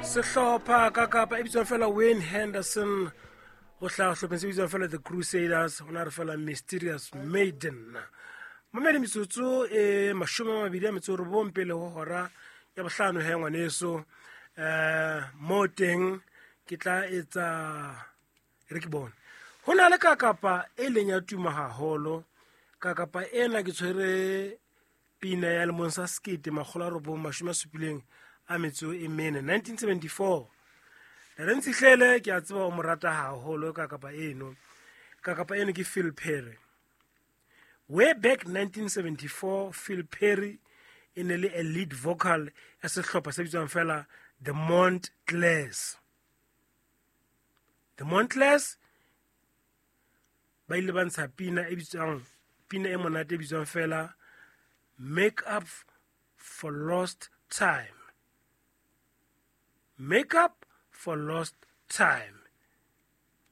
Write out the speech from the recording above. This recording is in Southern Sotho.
Sehlopha ka kapa e bitswang fela Wayne Henderson, o hlaha sehlopheng se bitswang fela The Crusaders, o na re fela Mysterious Maiden. Mamedi, metsotso e 29 pele ho hora ya bohlano. He ngwaneso, mo teng ke tla etsa re ke bone ho na le kakapa e leng ya tuma haholo. Kakapa ena ke tshwere pina ya lemong sa 1974, 1974. Ntate ke a tseba o mo rata haholo kakapa eno. Kakapa eno ke Phil Perry. Way back 1974, Phil Perry e ne le a lead vocal ya sehlopha se bitswang fela The Montclairs. The Montclairs ba ile ba ntsha pina e bitswang, pina e monate e bitswang fela Make Up for Lost Time. Make Up for Lost Time.